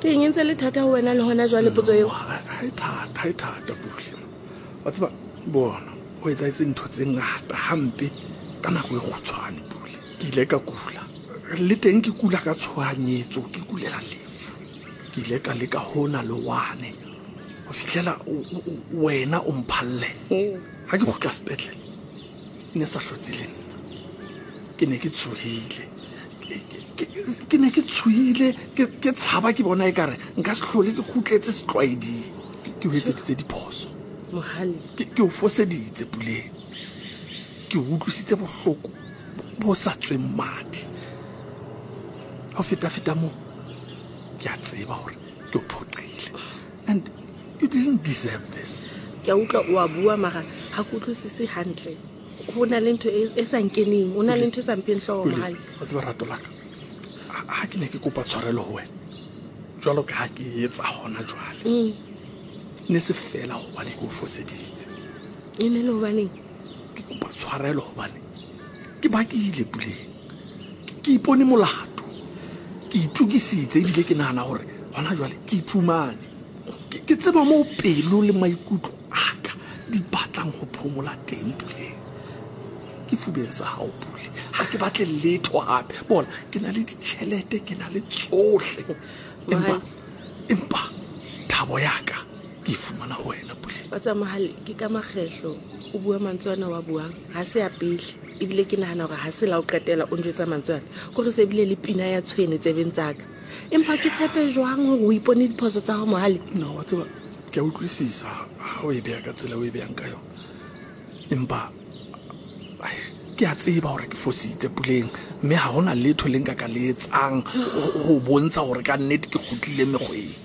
Ke eng e ntse le thata ho wena le hona jwale potso eo? Ha e thata, ha e thata Pule. Wa tseba bona, ho etsahetse ntho tse ngata hampe ka nako e kgutshwane Pule. Ke ile ka kula. Le teng ke kula ka tshohanyetso, ke kulela lefu. Ke ile ka leka hona le wane ho fihlela wena o mphalle. Ha ke kgutla sepetlele, ne sa hlotse le nna. Ke ne ke tshohile. Ke ne ke tshohile, ke tshaba ke bona ekare nka se hlole ke kgutletse setlwaeding. Ke o etseditse diphoso. Mohale. Ke o foseditse Puleng. Ke o utlwisitse bohloko bo sa tsweng madi. Ho feta-feta moo, ke a tseba hore ke o phoqile. And you didn't deserve this. Ke a utlwa o a bua mara ha ke utlwisise hantle. Ho na le ntho e, e sa nkeneng, ho na le ntho e sa mpheng hlooho Mohale. Wa tseba rato la ka, ha ke ne ke kopa tshwarelo ho wena, jwalo ka ha ke etsa hona jwale. Mm. Ne se fela hobane ke o foseditse. E ne le hobaneng? Ke kopa tshwarelo hobane ke bakile Puleng. Ke ipone molato. Ke itokisitse ebile ke nahana hore hona jwale ke iphumane. Ke tseba moo pelo le maikutlo a ka di batlang ho phomola teng Puleng. Ke fubeng sa hao Pule. Ha ke batle letho hape. Bona, ke na le ditjhelete, ke na le tsohle. Empa empa thabo ya ka ke e fumana ho wena Pule. Wa tseba Mohale, ke ka makgehlo o bua mantswe ana wa buang. Ha se a pele. Ebile ke nahana hore ha se la o qetela o njwetsa mantswe ana. Kore se bile le pina ya tshwene tsebeng tsa ka. Empa ke tshepe jwang hore o ipone diphoso tsa hao Mohale? No, wa tseba, ke a utlwisisa ha o e beha ka tsela o e behang ka yona. Empa ke a tseba hore ke fositse Puleng, mme ha hona letho le nka ka le etsang ho bontsha hore ka nnete ke kgutlile mekgweng.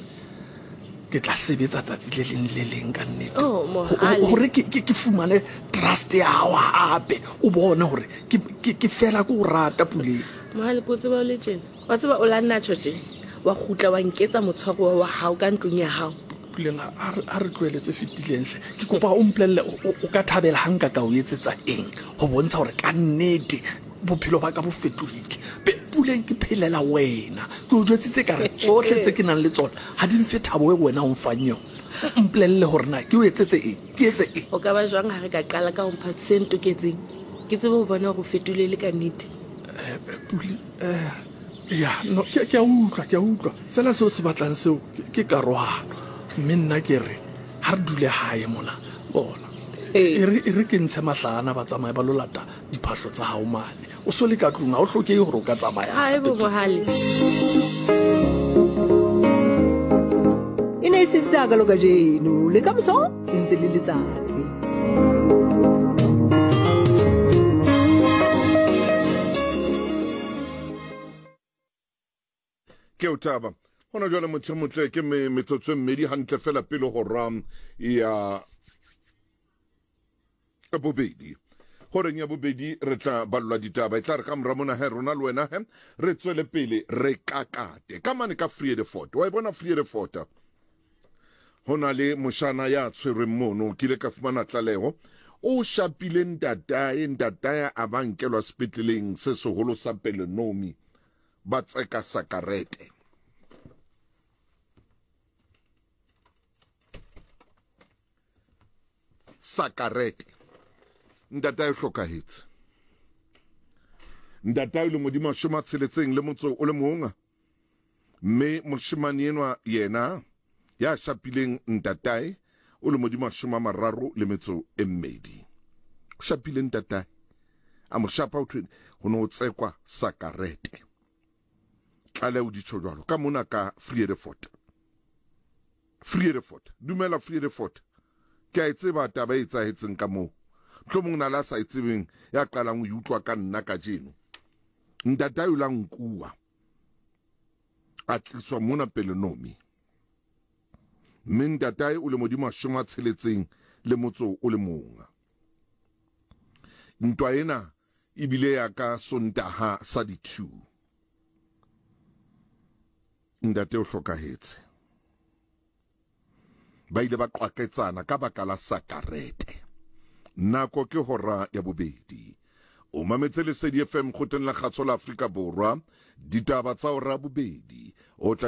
Ke tla sebetsa tsatsi le leng le leng ka nnete. Oh, Mohale. Hore ke fumane trust ya hao hape, o bone hore ke fela ke o rata Puleng. Mohale, ke o tseba o le tjena. Wa tseba o la nna tjho tje, wa kgutla wa nketsa motshwaruwa wa hao ka ntlong ya hao. Puleng, ha re tlohele tse fetileng hle. Ke kopa o mpolelle o ka thabela ha nka ka o etsetsa eng ho bontsha hore ka nnete bophelo ba ka bo fetohile. Puleng, ke phelela wena. Ke o jwetsitse ka re tsohle tse ke nang le tsona ha di mfe thabo e wena o mfang yona. Mpolelle hore na ke o etsetse eng, ke etse eng. O ka ba jwang ha re ka qala ka ho mpha se ntoketseng? Ke tsebe ho bona hore o fetohile e le ka nnete. Pule, ya, no, ke a utlwa, ke a utlwa. Fela seo se batlang seo ke karohano. Mme nna ke re, ha re dule hae mona. Bona, e re ke ntshe mahlahana ba tsamaye ba lo lata diphahlo tsa hao mane. O so le ka tlung, ha o hlokehe hore o ka tsamaya. Hae bo Mohale. E ne e sisitse hakalo kajeno, le ka moso e ntse le letsatsi. Ke o taba hona jwale motho e motle ke me metsotso e mmedi hantle fela pele hora ya bobedi horeng ya bobedi re tla ballwa ditaba e tla re ka mora mona he rona le wena he re tswele pele re kakate ka mane ka Vredefort wa e bona Vredefort ho na le moshana ya tshwerweng mono ke ile ka fumana tlaleho o shapile ntatae ntatae a ba nkelwa sepetleleng se seholo sa Pelonomi ba tseka sakarete. Sakarete. Ntatae o hlokahetse. Ntatae le modimo a tsheletseng le motso o le mong. Mme moshemane enwa yena ya shapileng ntatae o le modimo a mararo le metso e mmedi. O shapile ntatae. A mo shapa ho thwe ho ne ho tsekwa sakarete. Tlaleho di tjho jwalo ka mona ka Vredefort. Vredefort. Dumela Vredefort. Ke a e tseba taba e etsahetseng ka moo. Mohlomong na le a sa e tsebeng ya qalang ho e utlwa ka nna kajeno. Ntatae o la nkuwa. A tliswa mona Pelonomi. Mme ntatae o le modimo a shoma tsheletseng le motso o le mong. Ntwa ena e bile ya ka Sontaha sa di-2. Ntate o hlokahetse. Ba ile ba qwaketsana ka baka la sakarete. Nako ke hora ya bobedi. O mametse Lesedi FM kgoteng la kgaso la Afrika Borwa. Ditaba tsa hora ya bobedi. O tla di.